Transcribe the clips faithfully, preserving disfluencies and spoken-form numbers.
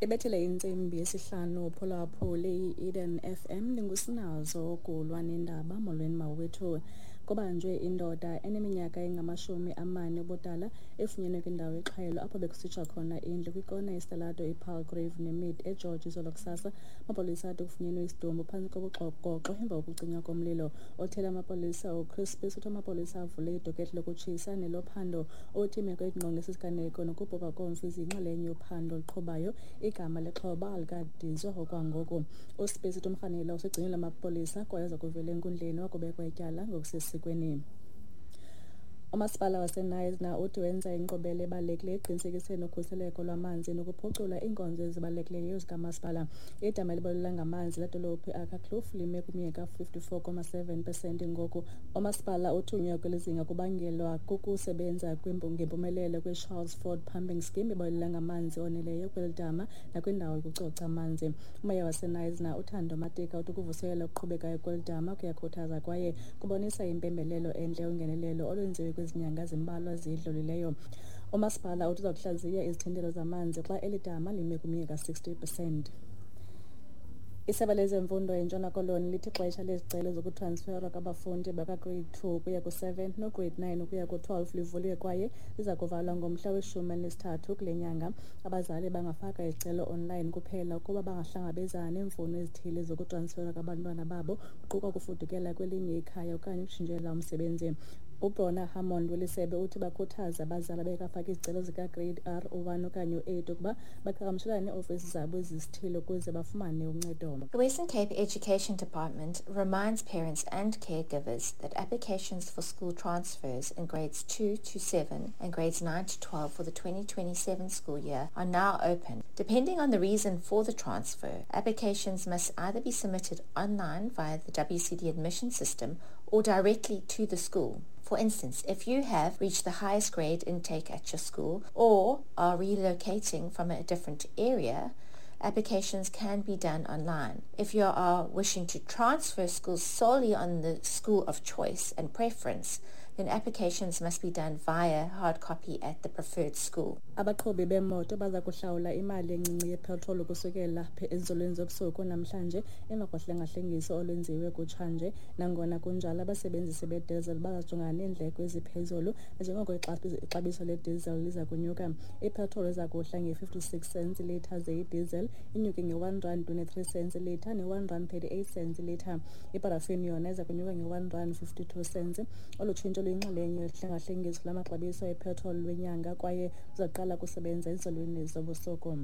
Ibethele intsimbi yesihlanu phulaphuli i-Eden F M ndingusinazo kulwa nendaba. Molweni mawethu. Kubanjwe indoda eneminyaka engamashumi amane ubudala efunyenwe kwindawo exhayelo apho bekusitsha khona indlu kwikona yesitalato iPalgrave neMid eGeorge izolo kusasa. Amapolisa athi kufunyenwe isidumbu phantsi kobuxogoxo emva kokucinywa komlilo. Othela amapolisa uChris Spies uthi amapolisa avule idokethi lokutshisa nelophando. Uthi imeko engqonge sisiganeko nokubhubha komfi ziyinxalenye yophando oluqhubayo. Igama lexhoba alikadizwa okwangoku. USpies uthi umrhanelwa usegcinelwe amapolisa kwaye uza kuvela enkundleni wakubekwa ityala ngokusesikweni. Umasipala waseKnysna uthi wenza inkqubela ebalulekileyo ekuqinisekiseni ukhuseleko lwamanzi nokuphucula iinkonzo ezibalulekileyo zikamasipala. Idama elibalula ngamanzi ledolophu iAkkerkloof lime kwiminyaka fifty-four point seven percent ngoku. Umasipala uthunywa kweli zinga kubangelwa kukusebenza ngempumelelo kwe-Charles Ford Pumping Scheme ebalula ngamanzi oneleyo kweli dama nakwindawo yokucoca amanzi. Umeya waseKnysna uThando Matika uthi ukuvuselela okuqhubekayo kweli dama kuyakhuthaza kwaye kubonisa impembelelo entle yongenelelo olwenziwe kwezinyanga zimbalwa zidlulileyo. Umasipala uthi uza kuhlaziya izithintelo zamanzi xa eli dama lime kwiminyaka sixty percent. Isebe lezemfundo eNtshona Koloni lithi ixesha lezicelo zokutransferwa kwabafundi bakagrade two ukuya ku-seven nograde nine ukuya ku-twelve livuliwe kwaye liza kuvalwa ngomhla weshumi elinesithathu kule nyanga. Abazali bangafaka izicelo online kuphela ukuba bangahlangabezana neemfuno ezithile zokutransferwa kwabantwana babo, kuquka ukufudukela kwelinye ikhaya okanye ukutshintshela umsebenzi. UBrona Hammond welisebe uthi bakhuthaza abazali abekafaka izicelo zikagrade R u-one okanye u-eight ukuba baqhagamshelane neeofisi zabo ezisithile ukuze bafumane uncedo. The Western Cape Education Department reminds parents and caregivers that applications for school transfers in grades two to seven and grades nine to twelve for the twenty twenty-seven school year are now open. Depending on the reason for the transfer, applications must either be submitted online via the W C D admission system or directly to the school. For instance, if you have reached the highest grade intake at your school or are relocating from a different area, applications can be done online. If you are wishing to transfer schools solely on the school of choice and preference, then applications must be done via hard copy at the preferred school. Abaqhubi bemoto baza kuhlawula imali encinci yepetroli ukusukela ezinzulwini zobusuku namhlanje emva kohlengahlengiso olwenziwe kutshanje. Nangona kunjalo, abasebenzisi bedizili bazajongana neendleko eziphezulu njengoko ixabiso ledizili liza kunyuka. Ipetroli iza kuhla nge-fifty-six cents ilitha ze idizili inyuke nge-one rand twenty-three cents ilitha ne-one rand thirty-eight cents ilitha. Iparafini yona iza kunyuka nge-one rand fifty-two cents. Olu tshintsho luyinxalenye yohlengahlengiso lwamaxabiso epetroli lwenyanga kwaye luzaqala kusebenza ezinzulwini zobusuku.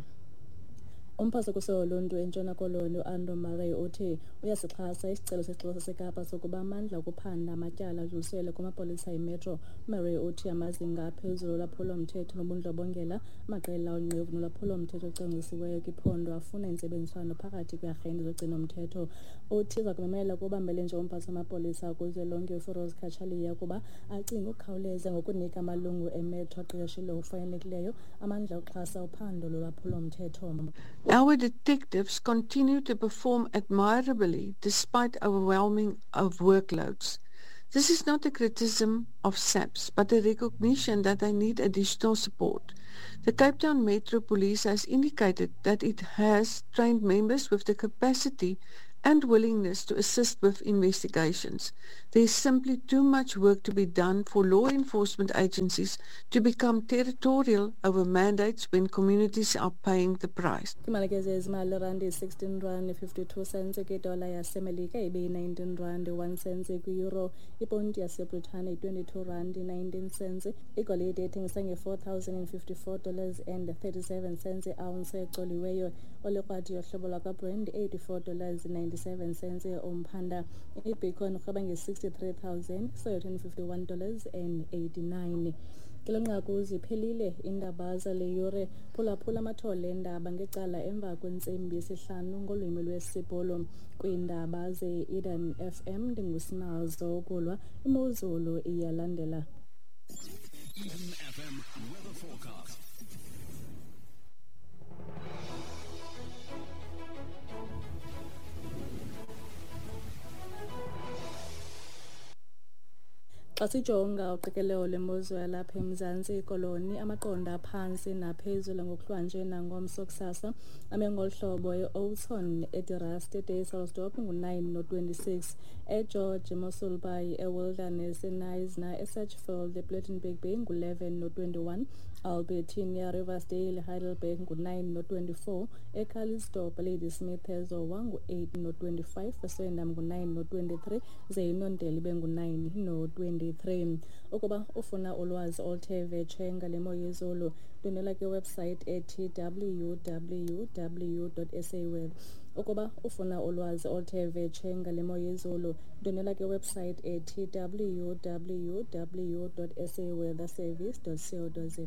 Umphathiswa woluntu eNtshona Koloni uAndrew Murray uthi uyasixhasa isicelo sesixeko saseKapa sokuba amandla okuphanda amatyala adluliselwe kumapolisa eMetro. Murray uthi amazinga aphezulu olwaphulo-mthetho nobundlobongela, amaqela onqevu nolwaphulo-mthetho ocwangcisiweyo kwiphondo afuna intsebenziswano phakathi kweearhente zogcino-mthetho. Uthi uza kumemela kubambele nje umphathiswa wamapolisa kuzwelonke uFiroz Cachalia ukuba acinge ukukhawuleza ngokunika amalungu eMetro aqeqeshelwe ngokufanelekileyo amandla okuxhasa uphando lolwaphulo-mthetho. Our detectives continue to perform admirably despite overwhelming of workloads. This is not a criticism of S A P S, but a recognition that they need additional support. The Cape Town Metro Police has indicated that it has trained members with the capacity and willingness to assist with investigations. There is simply too much work to be done for law enforcement agencies to become territorial over mandates when communities are paying the price. Imali ke zezimali randi sixteen rand fifty-two cents kwidola yaseMelika ibe nineteen rand one cent kwi-euro, iponti yaseBritane twenty-two rand nineteen cents, igolide ethengisa nge-four thousand and fifty-four dollars and thirty-seven cents i-ounce ecoliweyo, olikrwadi yohlobo lwakwaBrent eighty-four dollars ninety-seven cents umphanda, ibitcoin irhweba nge-sixty-three thousand seven hundred fifty-one dollars and eighty-nine. Kule nqaku ziphelile iindaba zale yure. Phulaphula amathole eendaba ngecala emva kwentsimbi yesihlanu ngolwimi lwesiBhulu. Kwiindaba ze-Eden F M ndingusinazo ukulwa imozulu iyalandela. Eden F M weather forecast. Xa sijonga uqikelelo lwemozulu yalapha eMzantsi Koloni, amaqondo aphantsi naphezulu ngokuhlwanje nangomso kusasa ame ngolu hlobo: e-Oudtshoorn, eDe Rust, eDysselsdorp ngu-nine no-twenty-six, eGeorge, eMossel Bay, eWilderness, eKnysna, eSedgefield, ePlettenberg Bay ngu-eleven no-twenty-one, Albertinia, Riversdale, Heidelberg ngu-nine no-twenty-four, eCalitzdorp, Ladysmith, eZowa ngu-eight no-twenty-five, eSwellendam ngu-nine no-twenty-three, ze iNondeli ibe ngu-nine no-twenty-three. Ukuba ufuna ulwazi oluthe vetshe ngale mo yezulu, ndwendwela kwiwebsite ethi w w w dot saweather. Ukuba ufuna ulwazi oluthe vetshe ngale mo yezulu, ndwendwela kwiwebsite ethi w w w dot saweatherservice dot co dot za.